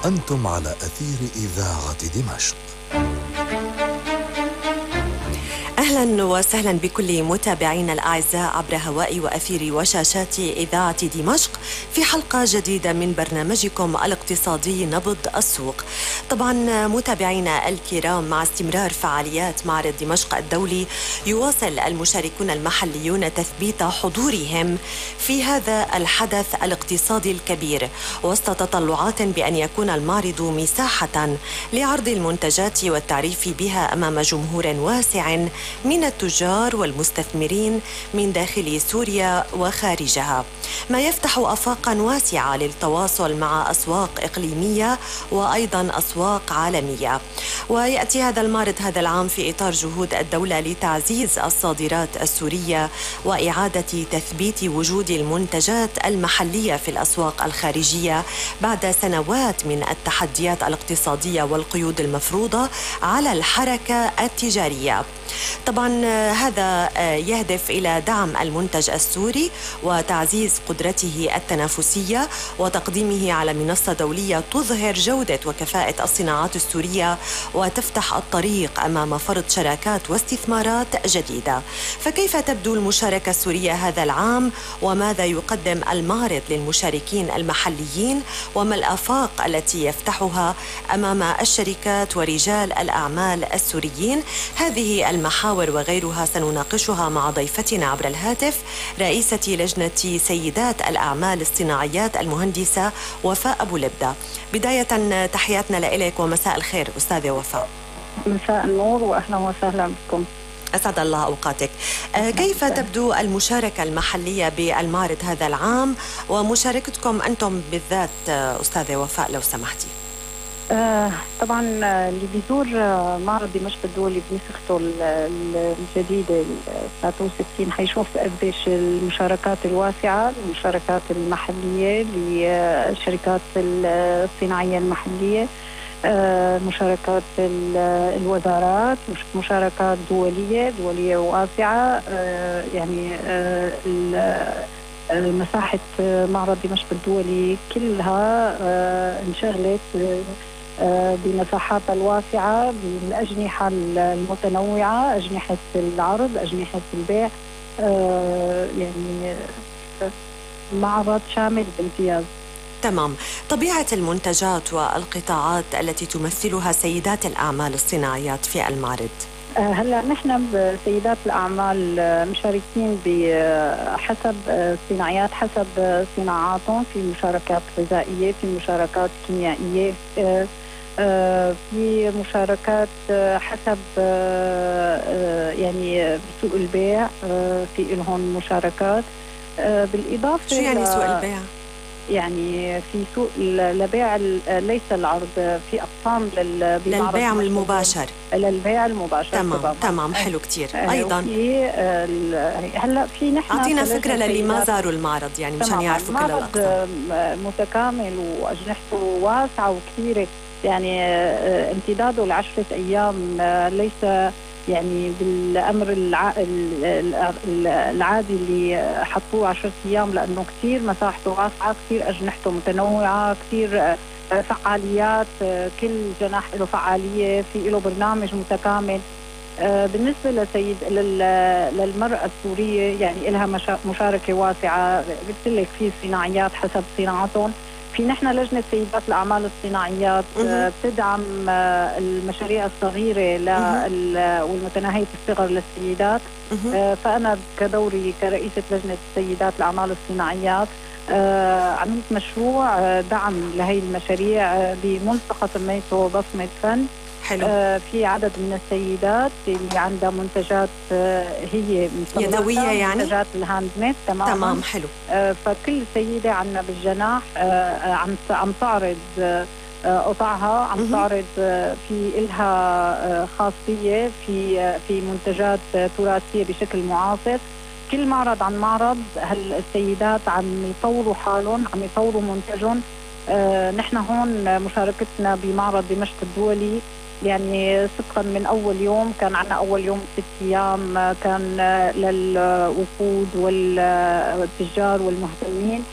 أنتم على أثير إذاعة دمشق. أهلا وسهلا بكل متابعينا الأعزاء عبر هواء وأثير وشاشات إذاعة دمشق في حلقة جديدة من برنامجكم الاقتصادي نبض السوق. طبعا متابعينا الكرام، مع استمرار فعاليات معرض دمشق الدولي يواصل المشاركون المحليون تثبيت حضورهم في هذا الحدث الاقتصادي الكبير، وسط تطلعات بأن يكون المعرض مساحة لعرض المنتجات والتعريف بها أمام جمهور واسع من التجار والمستثمرين من داخل سوريا وخارجها، ما يفتح آفاقا واسعة للتواصل مع أسواق إقليمية وأيضا أسواق عالمية. ويأتي هذا المعرض هذا العام في إطار جهود الدولة لتعزيز الصادرات السورية وإعادة تثبيت وجود المنتجات المحلية في الأسواق الخارجية بعد سنوات من التحديات الاقتصادية والقيود المفروضة على الحركة التجارية. طبعا هذا يهدف إلى دعم المنتج السوري وتعزيز قدرته التنافسية وتقديمه على منصة دولية تظهر جودة وكفاءة الصناعات السورية وتفتح الطريق أمام فرض شراكات واستثمارات جديدة. فكيف تبدو المشاركة السورية هذا العام؟ وماذا يقدم المعرض للمشاركين المحليين؟ وما الآفاق التي يفتحها أمام الشركات ورجال الأعمال السوريين؟ هذه المحاور وغيرها سنناقشها مع ضيفتنا عبر الهاتف، رئيسة لجنة سيدات الأعمال الصناعيات المهندسة وفاء أبو لبدة. بداية تحياتنا لإليك ومساء الخير أستاذة وفاء. مساء النور وأهلا وسهلا بكم. أسعد الله أوقاتك. كيف تبدو المشاركة المحلية بالمعرض هذا العام ومشاركتكم أنتم بالذات أستاذة وفاء لو سمحتي؟ طبعا اللي بيزور معرض دمشق الدولي بنسخته الجديدة 63 حيشوف قديش المشاركات الواسعة، المشاركات المحلية للشركات الصناعية المحلية، مشاركات الوزارات، مشاركات دولية واسعة. يعني مساحة معرض دمشق الدولي كلها انشغلت بمساحات الواسعة بالأجنحة المتنوعة، أجنحة العرض، أجنحة البيع. يعني معرض شامل بامتياز. تمام. طبيعة المنتجات والقطاعات التي تمثلها سيدات الأعمال الصناعيات في المعرض؟ هلا نحن بسيدات الأعمال مشاركين بحسب صناعيات، حسب صناعاتهم، في مشاركات غذائية، في مشاركات كيميائية، في مشاركات حسب يعني بسوق البيع في لهم مشاركات. بالإضافة شو يعني سوق البيع؟ يعني في سوق لبيع ليس العرض، في أقسام للبيع المباشر. للبيع المباشر. تمام. حلو كتير. أيضا هلا في نحن أعطينا فكرة للي ما زاروا المعرض، يعني مشان يعرفوا كل الأقسام. متكامل وأجنحته واسعة وكثيرة، يعني امتداده ل10 أيام، ليس يعني بالأمر العادي اللي حطوه 10 أيام، لأنه كثير مساحته واسعة، كثير أجنحته متنوعة، كثير فعاليات، كل جناح له فعالية، في له برنامج متكامل. بالنسبة للمرأة السورية يعني لها مشاركة واسعة. قلت لك في صناعيات حسب صناعتهم. في نحن لجنة سيدات الأعمال الصناعيات بتدعم المشاريع الصغيرة والمتناهية الصغر للسيدات. فأنا كدوري كرئيسة لجنة سيدات الأعمال الصناعيات عملت مشروع دعم لهي المشاريع بملصقة سميته بصمة فن. حلو. في عدد من السيدات اللي عندها منتجات هي يدوية، يعني منتجات الهاند ميد. تمام. حلو. فكل سيدة عندنا بالجناح عم تعرض قطعها، عم تعرض في إلها خاصية في منتجات تراثية بشكل معاصر. كل معرض عن معرض السيدات عم يطوروا حالهم، عم يطوروا منتجهم. نحن هون مشاركتنا بمعرض دمشق الدولي يعني صدقا من أول يوم، كان عنا أول يوم 6 أيام كان للوفود والتجار والمهتمين